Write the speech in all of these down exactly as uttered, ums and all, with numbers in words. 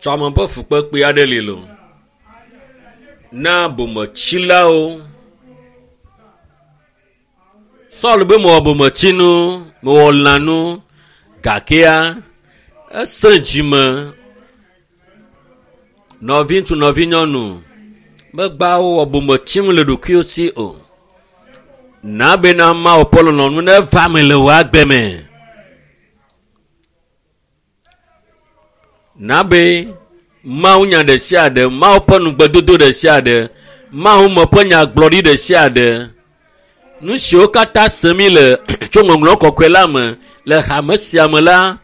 Tsɔme ƒe fukpekpe aɖe li lo na bometsilawo. Saul be mewɔ bometsinu, mewɔ lãnu gakea esẽ dzime. Nɔviŋutsu, nɔvinyɔnu, megba wowɔ bometsinu le ɖokuiwo si o. Na bena Mawu ƒe lɔlɔ̃nu neva me le wò agbe me. Na be Mawu nya ɖe sia ɖe, Mawu ƒe nugbedodo ɖe sia ɖe, Mawu me ƒe nyagblɔɖi ɖe sia ɖe, nu siwo katã sem mi le tso ŋɔŋlɔ kɔkɔe la me le hame sia me la,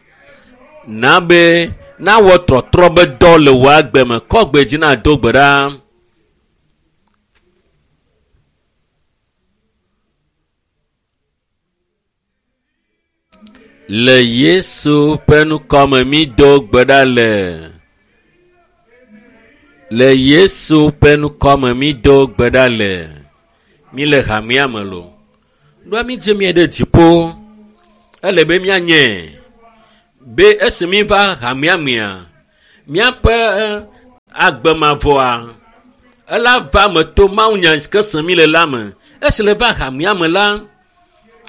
na be nawɔ trɔtrɔ be dɔ le wò agbe me. Kɔ gbe dzi na do gbe ɖa. Le Yesu ƒe ŋkɔme mi do gbe ɖa le. Le Yesu ƒe ŋkɔme mi do gbe ɖa le. Mi le hamea me lo. Ɖoa mi dze mía ɖe dziƒo. Ele be míanye be esi mi va hamea mea, míaƒe agbe mavɔa ela va me to Mawu nya si ke sem mi le la me. Esi le va hamea me la,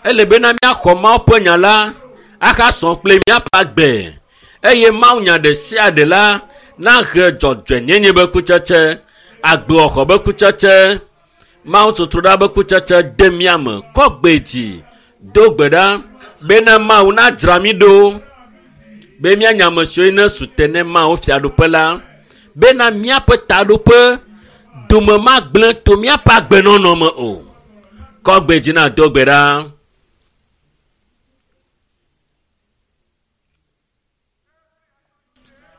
ele bena míaxɔ Mawu ƒe nya la ahasɔ kple míaƒe agbe eye Mawu nya ɖe sia ɖe la nahe dzɔdzɔenyenye be kutsetse, agbewɔxɔ be kutsetse, Mawu tutuɖa be kutsetse de mía me. Kɔ gbe dzi, do gbe ɖa bena Mawu nadzra mí ɖo be míanya ame siwo ne su te ne Mawu fiaɖuƒe la, bena míaƒe taɖoƒe dome magblẽ to míaƒe agbenɔnɔ me o. Kɔ gbe dzi na do gbe ɖa.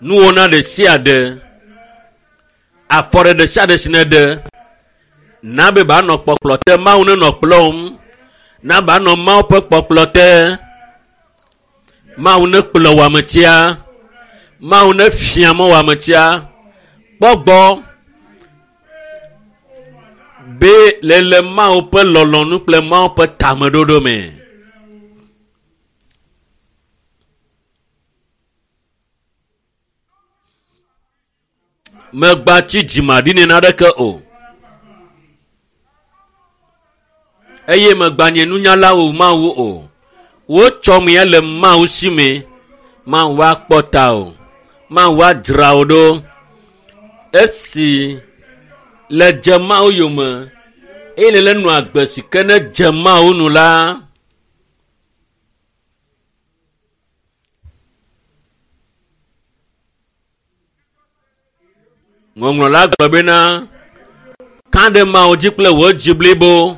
Nuwɔna ɖe sia ɖe, afɔɖe ɖe sia ɖe si ne ɖe, na be ba nɔ kpɔkplɔ te, Mawu nenɔ kplɔm, na ba nɔ Mawu ƒe kpɔkplɔ te. Mawu ne kplɔ wò ametia, Mawu ne fia mɔ wò ametia. Kpɔ gbɔ be le le Mawu ƒe lɔlɔ̃nu kple Mawu ƒe tameɖoɖo me. Megba tsi dzimaɖi nɛ naneke o. Eye megba nye nunyala o Mawu o. Wotsɔ mía le Mawu si me. Mawu akpɔ ta o. Mawu adzra wo ɖo. Esi le dze Mawu yome eye le le nɔ agbe si ke ne dze Mawu nu la, Ŋɔŋlɔ la gblɔ bena, ka ɖe Mawu dzi kple wò dzi blibo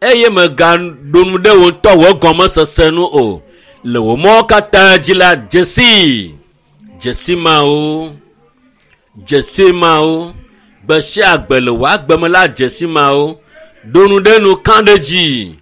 eye mègaɖo nu ɖe wò ŋutɔ wò gɔmesese nu o. Le wò mɔwo katã dzi la, dze sii, dze si Mawu, dze si Mawu. Gbe sia gbe le wò agbe me la, dze si Mawu. Ɖo nu ɖe nu, ka ɖe dzi.